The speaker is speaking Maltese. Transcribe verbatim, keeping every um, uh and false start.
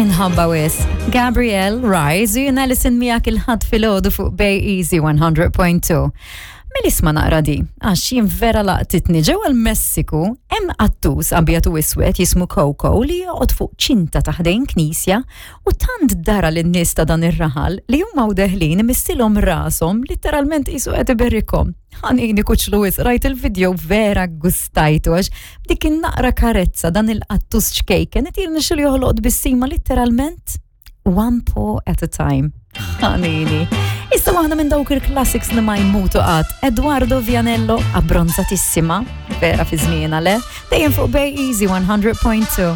Inħobba wisq. Gabrielle Rise u jien Alison miegħek il-Ħadd filgħodu fuq Bay Easy one hundred point two. Mela isma' naqra di, għax jien vera laqtitni. Ġewwa l-Messiku hemm qattus abjad u iswed jismu Coco li joqgħod fuq ċinta ta' ħdejn knisja u tant dara lin-nies ta' dan ir-raħal li huma u deħlin imissilhom rashom, literalment qisu qed iberrikhom. Ħanini kuċlu wisq, rajt il-video, vera gustajtu, għax dik in-naqra karezza dan il-qattus ċkejken qed jirnexxilu joħloq tbissima literalment one paw at a time. Ħanini. Issa waħda minn dawk il-classics li ma jmutu qatt. Edoardo Vianello, Abbronzatissima, vera fi żmienha le, dejjem fuq Bay Easy one hundred point two.